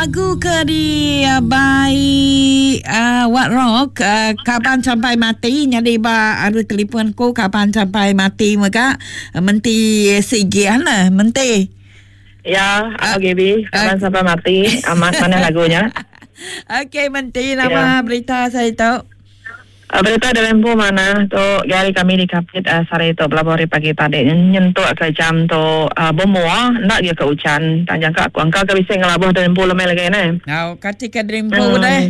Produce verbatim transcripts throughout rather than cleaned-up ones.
Lagu ke di uh, by uh, What Rock uh, Kaban Sampai Mati nyadi ba arus telefon ku Kaban Sampai Mati mega Menti Sigian lah Menti. Ya, uh, G B, Kaban uh, Sampai Mati amat mana lagunya. Okey, Menti, nama ya. Berita saya tahu. Uh, berita dalam bu mana tu gari kami di Kapit uh, sari tu belabori pagi tadi nyentuk ke jam tu uh, bermua nak dia ke hujan tanjang ke aku angka ke bisa ngelabuh dalam bu lemai lagi ne. Ngau kati ke dalam bu hmm. deh.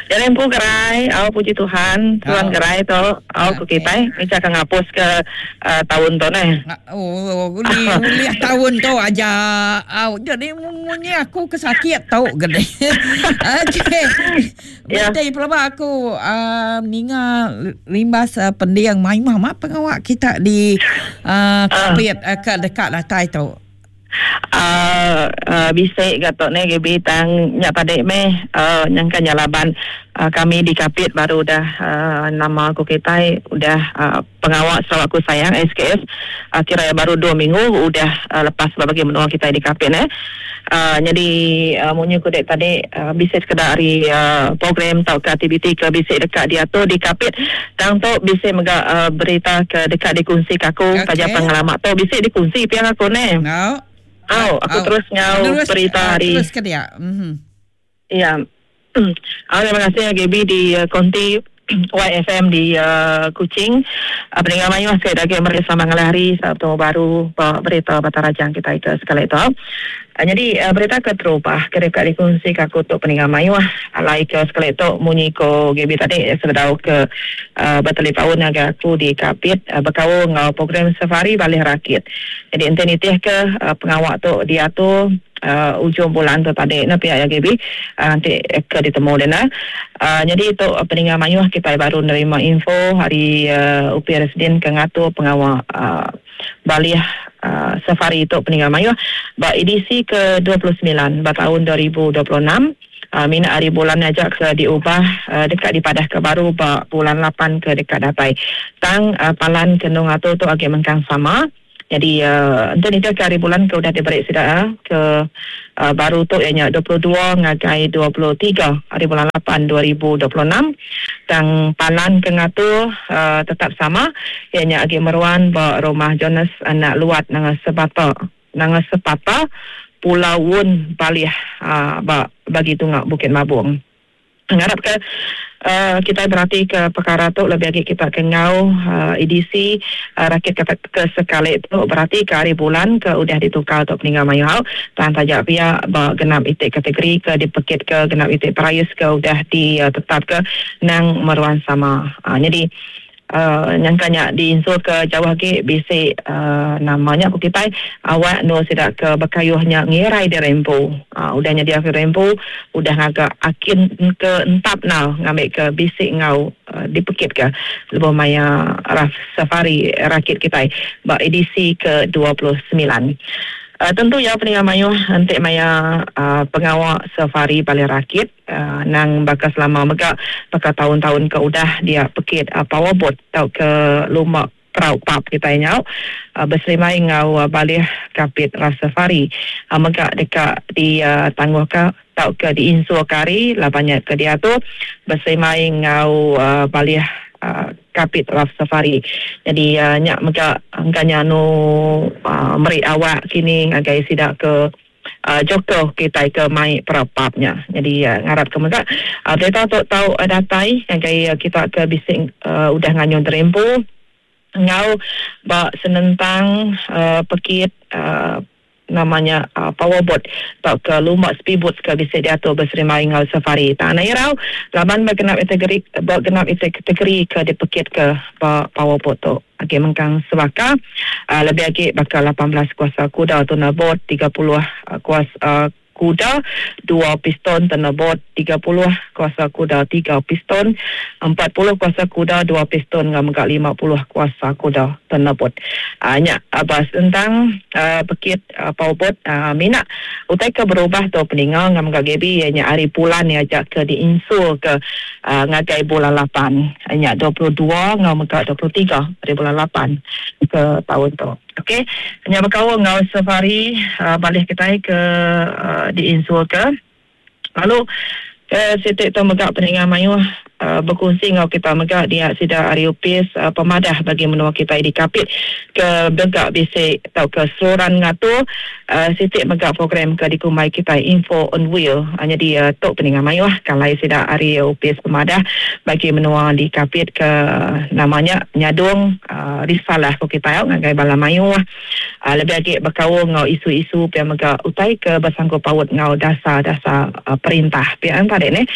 Dalam bu gerai, au puji Tuhan, Tuhan oh. gerai tu, au ku kita, ni cakap ngapus ke uh, tahun tu ne. Oh, uli uli tahun tu aja. Au, jadi munyi aku kesakit tau gede. Okey. Ya. Betul pelaba aku uh, ninga limbas uh, pendiang mai mah pengawak kita di uh, Kapit uh, ke dekat datai tu. Uh, uh, bisik gatok ne G B tang nyak padek meh uh, nyangka nyalaban uh, kami di Kapit baru dah uh, nama aku kita udah uh, pengawal Sarawakku Sayang S K S uh, kira baru dua minggu udah uh, lepas bagi menua kita di Kapit ne. Uh, jadi uh, munyi ku dek tadi uh, bisik sekedar hari uh, program tau ke aktiviti ke bisik dekat dia tu di Kapit tang tu bisik mega uh, berita ke dekat dikongsi ke aku okay. Taja pengalaman tu bisik dikongsi pihak aku ne. No. Oh, aku oh. terus ngau terus, berita hari. Terus ke dia. Mm-hmm. Ya. Oh, terima kasih G B di uh, Konti Y F M di uh, Kuching. Uh, pendengar mayu saya dah mereka sama ngalih hari Sabtu baru berita Batarajang kita itu sekali itu. Uh, jadi uh, berita ke terubah ke dekat dikongsi ke aku untuk pendengar mayu alai ke sekali itu munyi ko G B tadi sebedau ke uh, bertelepaun agak aku di Kapit uh, berkau ngau program safari Balih Rakit. Jadi ente nitih ke uh, pengawak tu dia tu Uh, ujung bulan tu tadi na pihak G B uh, nanti ke ditemu dia na. Uh, jadi itu uh, pendengar mayuh kita baru nerima info hari uh, U P Residen ke ngatur pengawal uh, Balih uh, safari itu pendengar mayuh ba edisi ke dua puluh sembilan ba tahun dua ribu dua puluh enam. Uh, minat hari bulan ajak ke diubah uh, dekat di Padah ke baru ba bulan lapan ke dekat datai. Tang uh, palan ke nung atu tu agak mengkang sama. Jadi uh, entah ni ke hari bulan ke udah diberi sudah ke uh, baru tu ianya dua puluh dua ngagai dua puluh tiga hari bulan lapan dua ribu dua puluh enam. Tang palan ke ngatu uh, tetap sama ianya agi meruan ba rumah Jonas anak luat nanga sebata nanga sepata Pulau Wun Balih uh, ba bagi tungak Bukit Mabung. Ngarap ke uh, kita berarti ke perkara tu lebih lagi kita kengau uh, edisi uh, rakit ke, ke sekali tu berarti ke hari bulan ke udah ditukar untuk peninggal mayu hau tan tajak pihak ba genap itik kategori ke dipekit ke genap itik perayus ke udah ditetap uh, ke nang meruan sama. Uh, jadi Uh, nyangkanya diinsul ke jauh lagi bisik uh, namanya aku kita awak no sidak ke bekayuhnya ngirai di rempu uh, udahnya dia ke rempu udah ngagak akin ke entap nau ngambil ke bisik ngau uh, dipekit ke lebih maya raf safari rakit kita ba edisi ke dua puluh sembilan. Uh, tentu ya pendengar mayuh entik maya uh, pengawal safari Balih Rakit uh, nang bakal selama mega bakal tahun-tahun ke udah dia pekit uh, powerboat atau ke lumba perau pap kita nyau uh, berselimai ngau uh, Balih Kapit Raf Safari uh, mega dekat di uh, tangguh ke atau ke di insul kari lah banyak ke dia tu berselimai ngau uh, Balih Uh, Kapit Raf Safari. Jadi uh, nyak mega angkanya nu uh, meri awak kini ngagai sidak ke uh, Joko kita ke mai perapapnya. Jadi uh, ngarap ke mega uh, berita tu tahu uh, datai ngagai uh, kita ke bising uh, udah nganyun terempu ngau ba senentang uh, pekit uh, namanya uh, powerboat atau ke lumba speedboat ke bisa diatur berserimai ngau safari. Tak nak irau laban bergenap kategori bergenap kategori ke dipekit ke powerboat tu. Okey mengkang sebaka uh, lebih lagi bakal lapan belas kuasa kuda tuna boat tiga puluh uh, kuasa uh, kuda dua piston tena boat tiga puluh kuasa kuda tiga piston empat puluh kuasa kuda dua piston ngam gak lima puluh kuasa kuda tena boat. Uh, nyak abas tentang uh, pekit uh, powerboat uh, minat utai ke berubah tu peningal ngam gak G B nya hari bulan ni ajak ke diinsul ke uh, ngagai bulan lapan nya dua puluh dua ngam gak dua puluh tiga hari bulan lapan ke tahun tu. Okey, nya berkau ngau safari uh, balik kita ke uh, diinsul ke Lalu ke siti tu mega peninga mayuh uh, berkongsi ngau kita mega dia sida ari upis uh, pemadah bagi menua kita di Kapit ke mega bisi tau ke seluran ngatur uh, siti mega program ke dikumbai kita Info on Wheel. Uh, jadi uh, tok peninga mayuh kalai sida ari upis pemadah bagi menua di Kapit ke namanya nyadung uh, risalah ko kita ngagai bala mayuh uh, lebih lagi berkaul ngau isu-isu pia mega utai ke bersangkut paut ngau dasar-dasar uh, perintah pia tadi ni.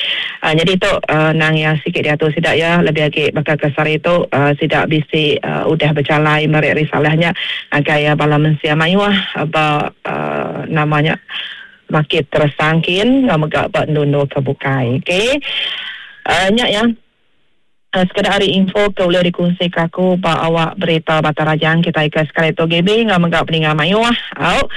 Uh, jadi tu uh, nang yang sikit diatur sidak ya lebih lagi bakal ke sari tu uh, sidak bisi uh, udah berjalai merik risalahnya agai uh, bala mensia mayuh uh, ba uh, namanya makit tersangkin ngau mega ba nunu ke bukai. Okey. Uh, nyak ya. Uh, sekadar hari info ke boleh dikongsi ke aku ba awak berita Batang Rajang kita ke sekali tu G B ngau mega peninga mayuh. Au.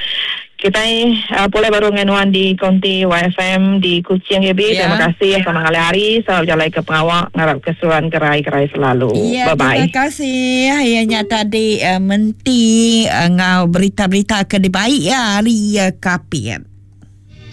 Kita uh, boleh baru dengan di Konti Y F M di Kuching G B. Ya. Terima kasih sama ngalih hari. Selalu jalan ke pengawak ngarap keseruan kerai-kerai selalu. Ya, bye-bye. Terima kasih. Ya, nya tadi uh, menti uh, ngau berita-berita ke dibaik ya hari uh, Kapit.